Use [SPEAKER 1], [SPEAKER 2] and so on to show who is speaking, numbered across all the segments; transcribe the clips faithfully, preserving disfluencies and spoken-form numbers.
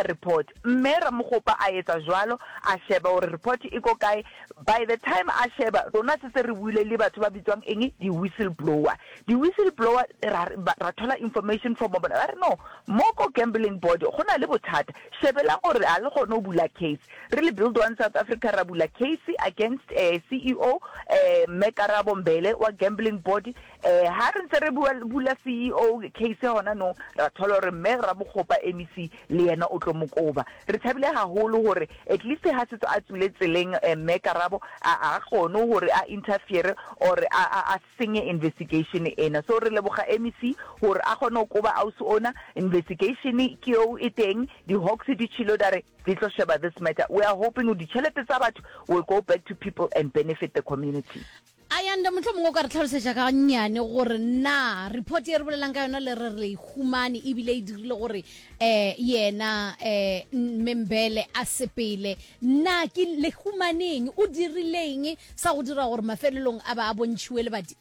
[SPEAKER 1] kopa report. Mme Ramokgopa a etsa jwalo, a sheba hore report e ko kae. By the time a sheba, rona setse re buile le batho ba bitswang eng, di-whistleblower. Di-whistleblower ra ra thola information from bona, ba re no, mo ko gambling board go na le bothata, shebelang gore ha le kgone ho bula case. Re le Build One South Africa ra bula case against C E O Mme Karabo Mbele wa gambling board. Ha re ntse re bua bula C E O case hona nou, ra thola hore Mme Ramokgopa M E C le yena o tlo mo koba. Re thabile haholo hore at least ha setse a tswile tseleng, Mme Karabo a a kgone hore a interfere or a a senye investigation ena. So re leboga M E C hore a kgone ho koba ausi ona. Investigation ke eo e teng, di-Hawks di tjhilo di re di tlo sheba this matter. We are hoping ditjhelete tsa batho will go back to people and benefit the community.
[SPEAKER 2] Ayanda, motlho mongwe o ka re tlhalosetša ka nnyane gore na report e re bolelang ka yona le re re e humane ebile e dirile gore um yena um Mme Mbele a sepele, na ke le humaneng o dirileng sa go dira gore mafelelong a ba a bontšhiwe lebati?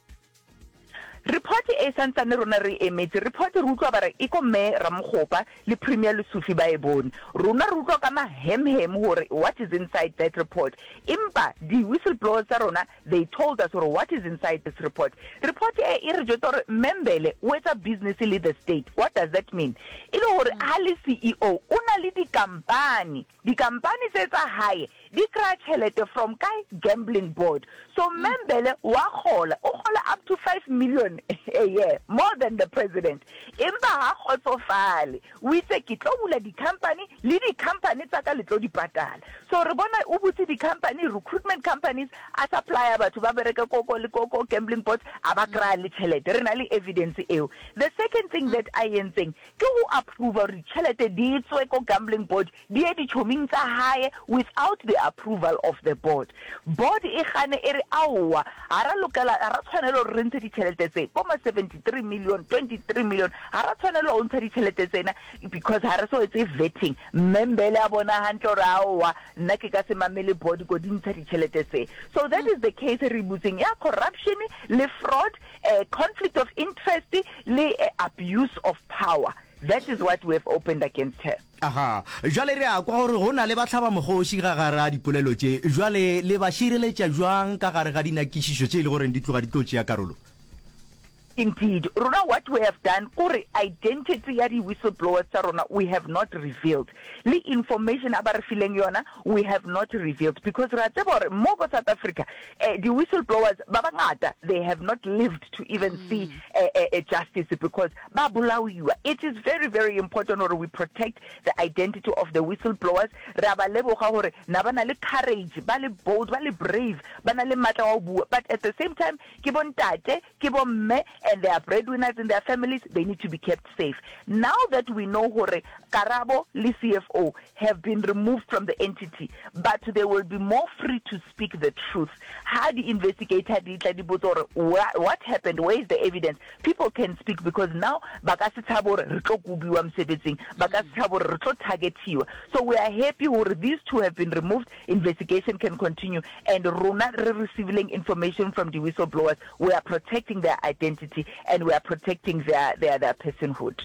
[SPEAKER 1] Report e santsane rona re emetse report. Re utlwa ba re e ko Mme Ramokgopa le Premier Lesufi ba e bone. Rona re utlwa ka mahemhem hore what is inside that report, empa di-whistleblowers tsa rona, they told us hore what is inside this report. Report e e re jwetsa hore Mme Mbele o etsa business le the state. What does that mean? E le hore ha le C E O o na le dikampani, dikampani tse tsa hae di kry-a tjhelete from kae? Gambling board. So Mme Mbele wa kgola, o kgola up to five million a year, more than the president, empa ha kgotsofale. O itse, "Ke tlo bula di-company le di-company tsa ka le tlo di patala." So re bona o butse di-company, recruitment companies, a supplya batho ba bereke koko le koko gambling boards, a ba kry-a le tjhelete. Re na le evidence eo. The second thing that a entseng ke ho approve hore ditjhelete di tswe ko gambling board di ye ditjhoming tsa hae without the approval of the board. Board e gane, e re aowa, ha ra lokela, ha ra tshwanela hore re ntshe ditjhelete tse bo ma seventy-three million, twenty-three million, ha ra tshwanela ho ntsha ditjhelete tsena because ha re so etse vetting. Mme Mbele a bona hantle hore aowa, nna ke ka se mamele board ko di ntsha ditjhelete tse. So that is the case re butseng ya corruption le fraud, uh, conflict of interest le uh, abuse of power. That is what we have opened against her.
[SPEAKER 3] Aha, jwale re a kwa gore go na le batlhaba mogoši ga gare a dipolelo tše. Jwale le ba šireletša jwang ka gare ga dinakišišo tše e le goreng di tloga di tlo tšea karolo?
[SPEAKER 1] Indeed, rona what we have done kore identity ya di-whistleblowers tsa rona we have not revealed, le information a ba re fileng yona we have not revealed, because re a tseba gore mo ko South Africa eh, di-whistleblowers ba bangata, they have not lived to even mm. see eh, eh, justice because ba bolaiwa. It is very, very important gore we protect the identity of the whistleblowers. Re a ba leboga gore na ba na le courage, ba le bold, ba le brave, ba na le matla wa ho bua, but at the same time ke bontate, ke bomme, and they are breadwinners in their families. They need to be kept safe. Now that we know gore Karabo le C F O have been removed from the entity, but they will be more free to speak the truth ha di-investigator di tla di botsa gore what happened, where is the evidence, people can speak because now ba ka se tshabe gore re tlo kobiwa mosebetsing, ba ka se tshabe gore re tlo targetiwa. So we are happy gore these two have been removed, investigation can continue, and rona re receiving information from the whistleblowers, we are protecting their identity and we are protecting their, their, their personhood.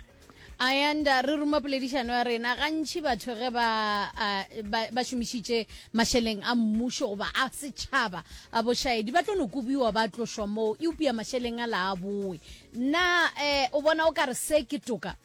[SPEAKER 2] Ayanda, re ruma poledišano ya rena. Gantši batho ge ba ba, ba šomišitše mašeleng a mmušo goba a setšhaba a bošaedi, ba tlo no kobiwa, ba tlošwa moo, eupša mašeleng a la a boe. Na um o bona o ka re se ke toka?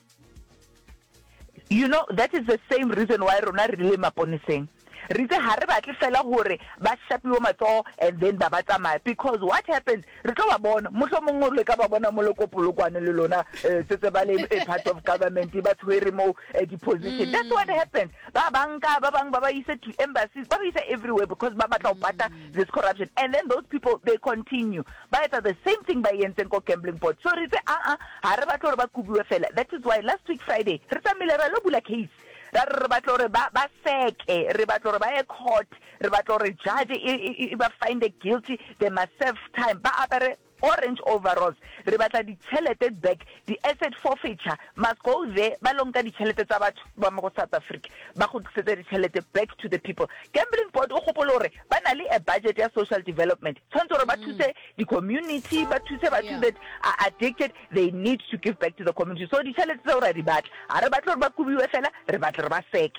[SPEAKER 1] You know, that is the same reason why rona re le maponeseng re itse ga re batle fela gore ba shapiwe matsogo and then ba ba tsamaya, because what happens, re tlo ba bona motlho mongwe le ka ba bona mo le ko Polokwane le lona, um setse ba le part of government, ba tshwere mo di-position. That's what happens. Ba banka ba bangwe ba ba ise to embassies, ba ba isa everywhere because ba batla go pata this corruption, and then those people, they continue ba etsa the same thing ba e entseng ko gambling board. So re itse aa, ga re batle gore ba kobiwe fela. That is why last week Friday re tsamaile ra lo bula case, ra re re batla gore ba ba seke, re batla gore ba ye court, re batla gore judge e ba find guilty. They must serve time, ba apere orange overalls. Re batla ditšhelete back. Di-asset forfeiture must go there, ba lo nka ditšhelete tsa batho ba mo go South Africa, ba go tlisetse ditšhelete back to the people. Gambling board, o gopole gore ba na le a budget ya social development, tshwanetse gore ba thuse di-community, ba thuse batho that are addicted. They need to give back to the community. So ditšhelete tseo ra di batla. Ga re batle gore ba kobiwe fela, re batla re ba seke.